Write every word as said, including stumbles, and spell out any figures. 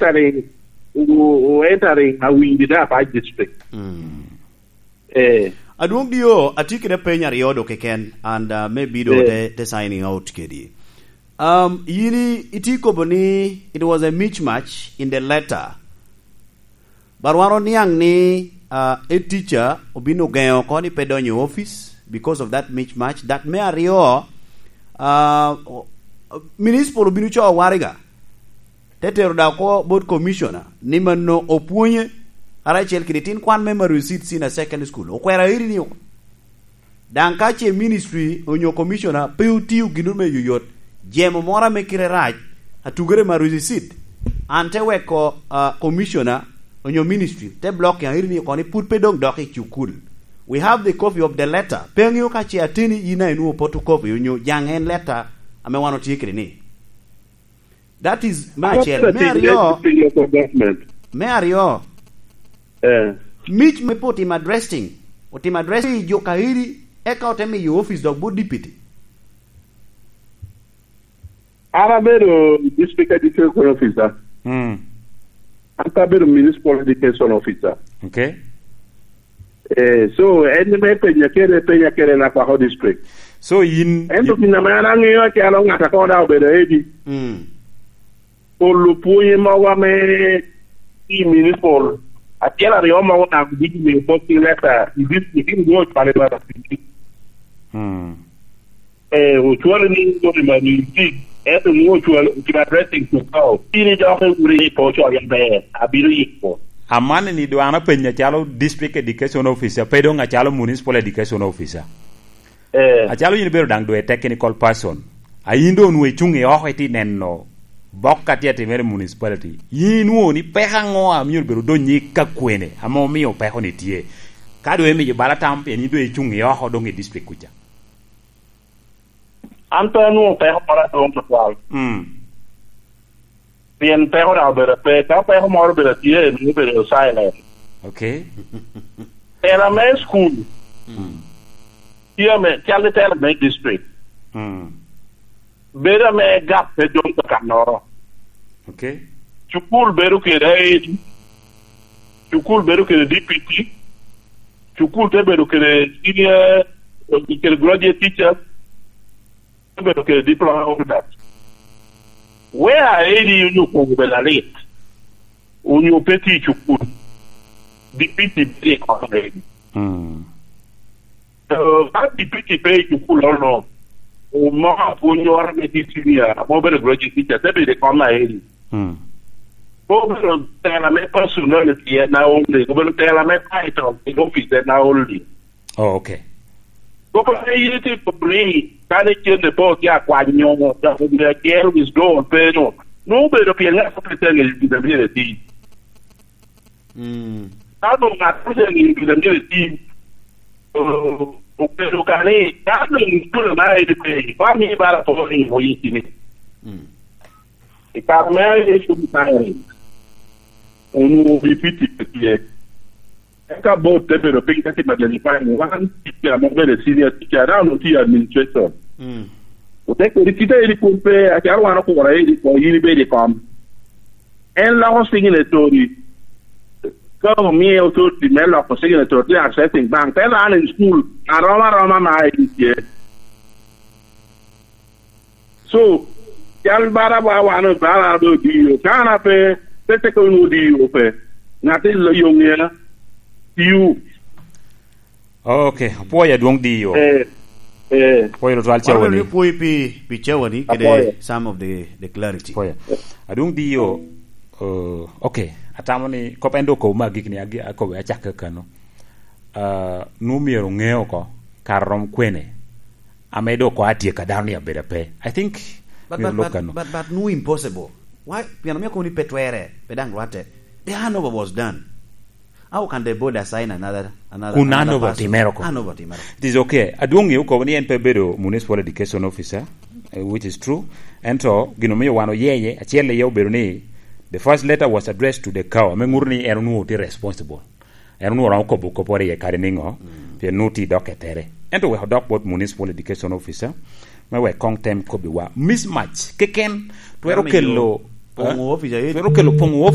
entering, o, o entering a windi da by district. Mm. Eh. Adwong Dio, atye kede peny aryo do keken, and, uh, maybe do, eh, te, te signing out kedi. Um, yin i, iti kobo ni it was a mismatch in the letter. But wan oniaŋ ni, uh, a teacher obin ogeŋo oko ni pe donyo i office because of that mismatch. That me aryo, uh, municipal obin oco waraga. Te tero da oko bot commissioner ni mano opwonye, karacel kede tin kwan me Maru Seed Senior Secondary School. Okwero airi ni oko. Daŋ ka ce ministry onyo commissioner pe otio gin me yoyot, jemo moro ame kite rac, atugere Maru Seed, an te weko, ah, commissioner onyo ministry te block ya iri ni oko ni pud pe doŋ dok i cukul. We have the copy of the letter. Pe aŋeo ka ce ateni yin a inwoŋo photocopy onyo jaŋ en letter ame wan otye kede ni. That is me acel. Me aryo, me aryo, eh, mic me pe otimo addressing, otimo addressing jo kairi, eka ote miyo office dok bot deputy. An abedo district education officer. Mm. An pe abedo municipal education officer. Okay. Eh, so, en me penya kede, penya kede Lakwako district. So, yin, ento gin ame an aŋeo acalo ŋat a koŋ daŋ obedo edi. Mm. Olo pwonye mogo ame i municipal, acel aryo mogo daŋ bino miyo posting letter i district, in dwon ocwalo i Maru Seed. Mm. Eh, ocwalo ni ŋo i Maru Seed, ento ŋo ocwalo, ocwalo addressing to go. Bino dok i wuri i po coyo ber, abino yiko. Amanni ni dwan apenyo calo district education officer, pe doŋ acalo municipal education officer. Eh. Acalo yin ibedo daŋ doŋ i technical person. A yin doŋ onwoŋo icuŋ i oko iti neno bok a tye atimere i municipality. Yin inwoŋo ni peko aŋo a myero bedo odonyi ka kwene, ame omio peko ni tye? Ka doŋ imiyo bala tam, pien yin doŋ icuŋ i oko doŋ i district kuca. An pe anwoŋo peko moro adwoŋ tutwal. Mm. Pien peko daŋ obedo pe, ka peko moro obedo atye, nwoŋo obedo silent. Okay. Tela me school. Mm. Tye ame, cal i tela me district. Mm. Bedo ame gap pe dong kakannoro. Okay. Cukul bedo kede aedi. Cukul bedo kede D P T. Cukul te bedo kede senior, kede graduate teachers. Te bedo kede diploma holders. Where aedi onyo kwogo bedo alit. Onyo pe tye i cukul. D P T bedo i kom aedi. Mm. So, ka D P T pe i cukul ono, omoko apwonnyoro me tye senior, ame obedo graduate teacher, te bedo i kom aeri. Mm. Pe obedo tela me personality en aonly, obedo tela me title i office en aonly. Oh, okay. Kop ame yin itye kop ni, kane cente pe otye akwanyo, dok omio acel withdraw pe no, nwoŋo obedo pien ŋat pe tye aŋeyo gin a myero eti. Mm. Ka doŋ ŋat pe tye aŋeyo gin a myero eti, o-, obedo ka ni, ka doŋ ituno na edi pe, ba mi bala po ni mo yiki ni. Mm. I kare me edi ituno na edi, onwoŋo wi fiti pe tye. Eka board te bedo piny te timo identifying wan teacher ame obedo senior teacher, now onwoŋo tye i administration. Mm. Ote kodi kite edi kun pe, acalo wan okuro edi ko, yin ibedo i kom. En loko signatory. Ka omiye authority me loko signatory, te accessing bank, te run in school, aroma aroma ma edi tye. So, cal bara ba wan obara do D O. Ka an ape, pe teko nwoŋo D O pe. Ŋat i lo yo ŋea. You. Okay, apwoyo adwoŋ D O. Eh, eh. Apwoyo tutwal Cawani. Wan apwoyo pi, pi Cawani kede apwoyo. Some of the, the clarity. Apwoyo. Adwoŋ D O, uh, okay, atamo ni kop en dok okobo me agikki ni agi-, akobo acakke kano. Uh, nwoŋo myero oŋe oko kare rom kwene. Ame dok ko atyeko a dano ni abedo ape. I think but, myero but, lok but, kano. But, but nwoŋo impossible. Why? Pien omio kono ni pe twere, pe daŋ rwatte. The handover was done. How can the board assign another, another, kun another handover person? Otimere oko. Handover otimere oko. It is okay. Adwoŋ ŋeo kobo ni en pe bedo municipal education officer, eh, which is true. Ento gin omio wan oyeye, acel iye obedo ni the first letter was addressed to the cow. Ame ŋuto ni en onwoŋo tye responsible. En onwoŋo romo kobo kopporo iye kadi niŋo, mm, pien nwoŋo tye dok etere. Ento wek odok bot municipal education officer, me wek koŋ tem kobbiwa. Mismatch keken twero kelo, poŋo, eh? Office aye. Twero kelo poŋo